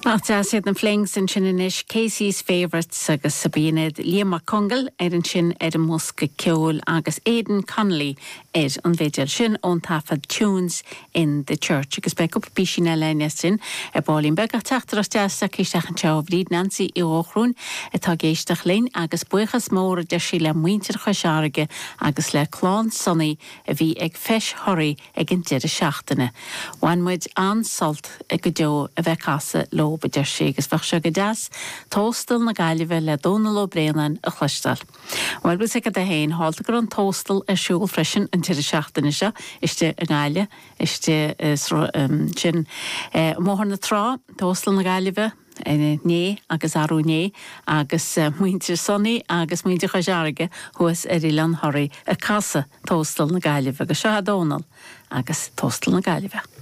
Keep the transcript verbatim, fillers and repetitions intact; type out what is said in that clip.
Nach deas iad na Flings ansin anois Casey's Favourites agus Sabine Liam Mac Conghail ar ansin ar an mbosca ceoil agus Aidan Connolly ar an bhfidil sin ón taifead Tunes in the Church agus beidh cúpla píosín eile sin ar baillín beag ach teachtaireacht deas isteach anseo ó Bhríd Nancy Uí Dhóchrúin atá ag éisteacht linn agus buíochas mór a deir sí le muintir Chois Fharraige agus le clann Sonaí a bhí ag Feis Thoraí ag an deireadh seachtaine. Bhain muid an-sult go deo a bheith casadh leo a deir sí agus bheadh sé go deas Tóstal na Gaillimhe le Dónal Ó Braonáin a chloisteáil. Well bhí sé féin hálta gur an tóstal ar siúl freisin an deireadh seachtaine seo istigh i nGaillimh istigh sin Bóthar na Trá Tóstal na Gaillimhe inné agus arú inné agus muintir Sonaí agus muintir Chois Fharraige thuas ar Oileán Thoraí ag casadh Tóstal na Gaillimhe agus seo Dónal agus Tóstal na Gaillimhe.